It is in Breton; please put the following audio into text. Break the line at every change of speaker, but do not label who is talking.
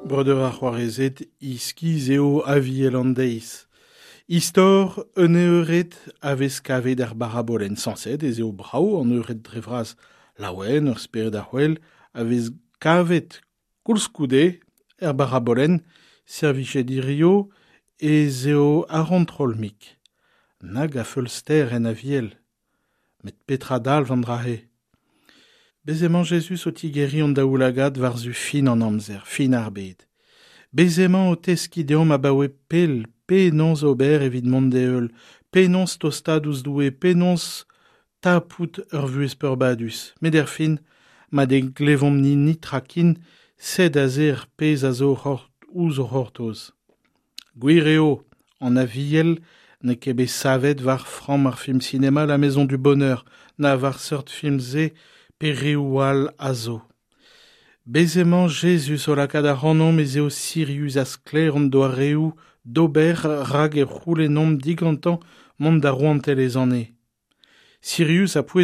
Breudeur ha c'hoarezed, iskis eo Aviel an deiz. Istor un eured a vez kavet er barabolenn. Sañset ez eo brav an eured dre vras. Laouen, ur spered a-c'hwel a vez kavet koulskoude er barabolenn, servijet hirio ez eo ar c'hontrol-mik. Nag a feulster en Aviel. Met petra dalv an dra-se? Bez emañ Jezuz o tigeriñ hon daoulagad war-zu fin an amzer, fin ar bed. Bez emañ o teskiñ deomp abaoe pell penaos ober evit mont d'e heul, penaos tostaat ouzh Doue, penaos tapout ur vuhez peurbadus. Met erfin, ma ne glevomp-ni netra ken, sed aze ar pezh a zo ouzh o c'hortoz. Gwir eo, an Aviel n'eo ket bet savet war framm ar film sinema La Maison du Bonheur, na war seurt film-se pe reoù all a zo. Bez emañ Jezuz o lakaat ac'hanomp ez eo sirius ha sklaer hon doareoù d'ober rak e c'houlennomp digantañ mont da rouantelezh an Neñv. Sirius ha pouezus.